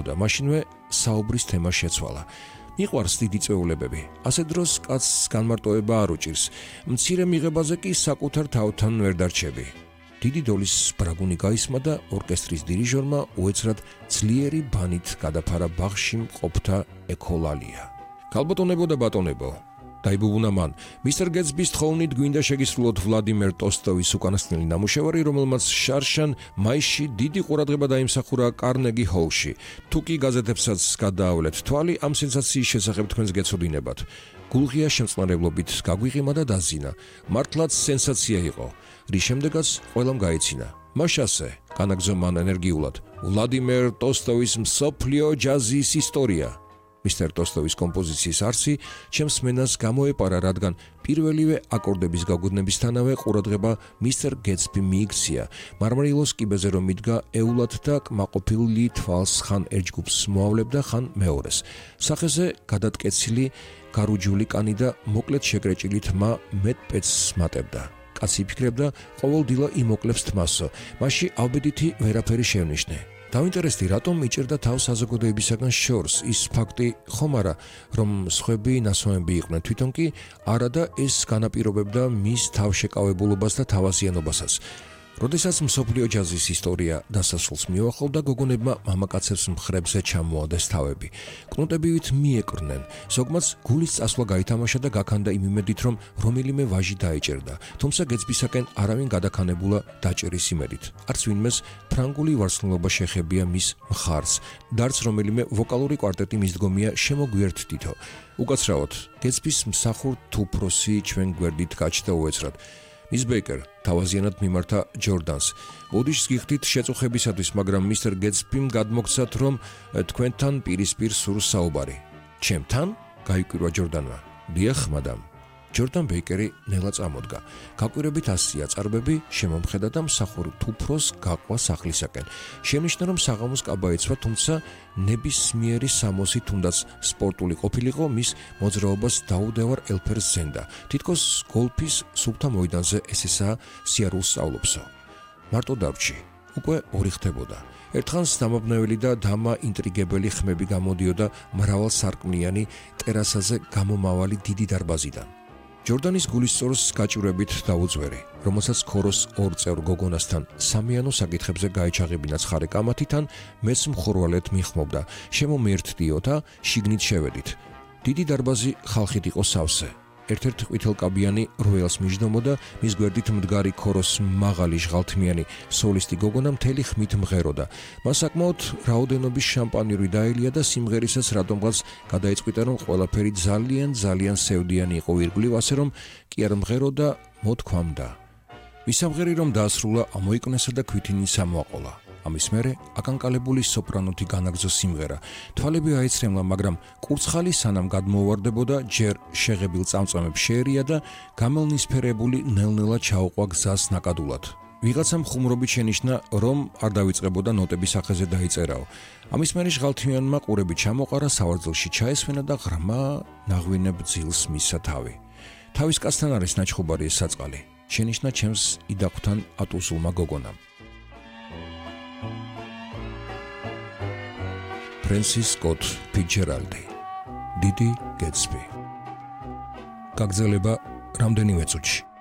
ვნებოდა, მაშინვე საუბრის თემა შეცვალა. მიყვარს დიდი წვეულებები. ასე დროს კაცს განმარტოება არ უჭირს. მცირე მიღებაზე კი საკუთარ თავთან ვერ დარჩები. დიდი დოლის ბრაგუნი გაისმა და ორკესტრის დირიჟორმა უეცრად ძლიერი ბანით გადაფარა ბაღში მყოფთა ეკოლალია. ქალბატონებო და ბატონებო, დაიბუბუნა მან, მისტერ გეტსბის თხოვნით გვინდა შეგისრულოთ ვლადიმერ ტოლსტოის უკანასკნელი ნამუშევარი, რომელმაც შარშან მაისში დიდი ყურადღება დაიმსახურა კარნეგი ჰოლში. თუ კი გაზეთებსაც გადაავლეთ თვალი, ამ სენსაციის შესახებ თქვენს გეცოდინებათ. გულღია შემწყნარებლობით გაგვიღიმა და დაზინა. მართლაც სენსაცია იყო. რის შემდეგაც ყველამ გაეცინა. მაშასე, განაგზო მან ენერგიულად, ვლადიმერ ტოლსტოის მსოფლიო ჯაზის ისტორია. მისტერ ტოლსტოის კომპოზიციის არსი ჩემს მენას გამოეპარა, რადგან პირველივე აკორდების გაგუნებისთანავე ყურადღება მისტერ გეტსბი მიიქცია. მარმარილოს კიბეზე რომ იდგა, ეულად და კმაყოფილი თვალს ხან ერთ ჯგუფს მოავლებდა, ხან მეორეს. სახეზე გადატკეცილი გარუჯული კანი და მოკლედ შეკრეჭილი თმა მეტ-პეცს მატებდა. კაცი იფიქრებდა, ყოველდილა იმოკლებს თმასო, მასში ავბედითი ვერაფერი შევნიშნე. დავინტერესდი, რატომ იჭერდა თავს საზოგადოებისაგან შორს, ის ფაქტი ხომ არა, რომ სხვები ნასვამები იყვნენ, თვითონ კი არა და ეს განაპირობებდა მის თავშეკავებულობას და თავაზიანობასაც. როდესაც მსოფლიო ჯაზის ისტორია დასასრულს მიუახლოვდა, გოგონებმა მამაკაცებს მხრებზე ჩამოადეს თავები. კნუტებივით მიეკრნენ, ზოგმაც გულის წასვლა გაითამაშა და გაქანდა იმ იმედით, რომ რომელიმე ვაჟი დაეჭერდა, თუმცა გეტსბისაკენ არავინ გადაქანებულა დაჭერის იმედით. არც ვინმეს ფრანგული ვარსკვლავობა შეხებია მის მხარს, და არც რომელიმე ვოკალური კვარტეტი მისდგომია შემოგვიერთდითო. უკაცრავად, გეტსბის მსახურ თუფროსი ჩვენ გვერდით გაჩნდა უეცრად. მის ბეიკერ თავაზიანად მიმართა ჯორდანს. ოდიშს გიხდით შეწუხებისათვის, მაგრამ მისტერ გეტსბიმ გადმოგცათ, რომ თქვენთან პირისპირ სურს საუბარი. ჩემთან? გაიკვირვა ჯორდანმა. დიახ, მადამ. ჯორდან ბეიკერი ნელა წამოდგა. გაკვირებით ასია წარბები, შემომხედა და მსახურ თუფროს გაყვა სახლისაკენ. შემნიშნა, რომ საღამოს კაბა ეცვა, თუმცა ნებისმიერი სამოსი თუნდაც სპორტული ყოფილიყო, მის მოძრაობას დაუდევარ ელფერს ზენდა. თითქოს გოლფის სუფთა მოედანზე ესესაა სიარულს სწავლობსო. მარტო დავრჩი. უკვე ორი ხდებოდა. ერთხანს დამაბნეველი და დამა ინტრიგებელი ხმები გამოდიოდა მრავალსარკმლიანი ტერასაზე გამომავალი დიდი დარბაზიდან. ჯორდანის გულისწორს გაჭირვებით დაუძვერი, რომელსაც ქოროს ორ წევრ გოგონასთან სამიანო საკითხებზე გაეჩაღებინა ცხარე კამათიდან, მეც მხურვალედ მიხმობდა, შემომიერთდიო და შიგნით შევედით. დიდი დარბაზი ხალხით იყო სავსე. ერთ-ერთ ყვითელკაბიანი როელს მიჯდომოდა, მის გვერდით მდგარი ქოროს მაღალი ჟღალთმიანი სოლისტი გოგონა მთელი ხმით მღეროდა. მას საკმაოდ რაოდენობის შამპანიური დაელია და სიმღერისაც რატომღაც გადაიწყვიტა, რომ ყველაფერი ძალიან სევდიანი იყო ირგვლივ, ასე რომ კი არ მღეროდა, მოთქვამდა. მისამღერი რომ დაასრულა, ამოიკნესა და ქვითინიც ამოაყოლა. ამის მერე აკანკალებული სოპრანოთი განაგზო სიმღერა. თვალები აეცრემლა, მაგრამ კურცხალი სანამ გადმოუვარდებოდა, ჯერ შეღებილ წამწამებს შეერია და გამელნისფერებული ნელ-ნელა ჩაუყვა გზას ნაკადულად. ვიღაცამ ხუმრობით შენიშნა, რომ არ დავიწყებოდა ნოტების სახეზე დაიწერაო. ამის მერე ჟღალთმიანმა ყურები ჩამოყარა, სავარძელში ჩაესვენა და ღრმა ნაღვინებ ძილს მისცა თავი. თავის კაცთან არის ნაჩხუბარი ეს საწყალი. შენიშნა ჩემს იდაყვრთან ატუსულმა გოგონამ. ფრენსის სკოტ ფიცჯერალდი, დიდი გეტსბი. გაგრძელება რამდენიმე წუთში.